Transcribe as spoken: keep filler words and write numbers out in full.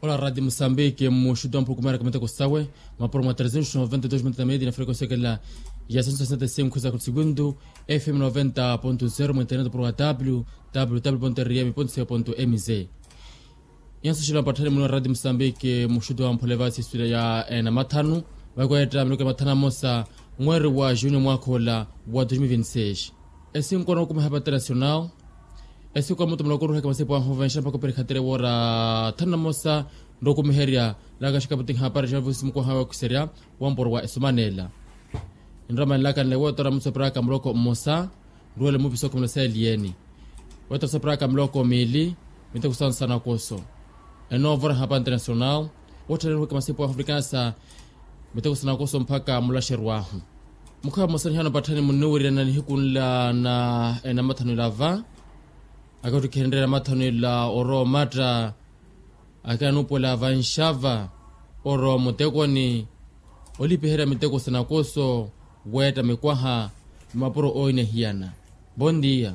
Ola radi musambiki mmuxutu wa mphukumera kamiteko sawe, mapuro mwa tresientos noventa dos metro na medi na freko sekela ya senso sesenta sinkhu za kutsikundu, fm noventa ponto zero mwinternet puro wa w w w ponto r m ponto c o ponto m z. Yanso xilo mpathani muni wa radi musambiki mmuxutu wa mpholeva siswila ya ena mathanu, vakwetta minuke mathanu amosa, mweri wa juni mwakhola wa dos mil vinti seis. Esinkono kumeha pa internacional. Esiko mutu muloko ruheke masipu ahu venxa mpaka operikhatere wora thanu na mosa, nrokumiherya laka xikaputi nhapari xa vusi mukoha wa kuserya, wamporo wa esumanela. Nramanelaka nlewo tora mutsoperaka muloko mmosa, nruwele mupiso khumela seliyeni. Wetera soperaka miloko miili, miteko sansana koso. Enoovora hapa internacional, wotthale ruheke masipu ahu afrikansa, miteko sanakoso mpaka mulaxeru ahu. Mukhawa mmosa nihano patthani munniwiryana nihiku nla na enamathano ila va, akattikhenrya namathano ila orowa omatta, akananupuwela vanxava orowa mutekoni, olipiherya miteko sanakoso, weetta mikwaha, mapuro oinehiyana. Bondiya.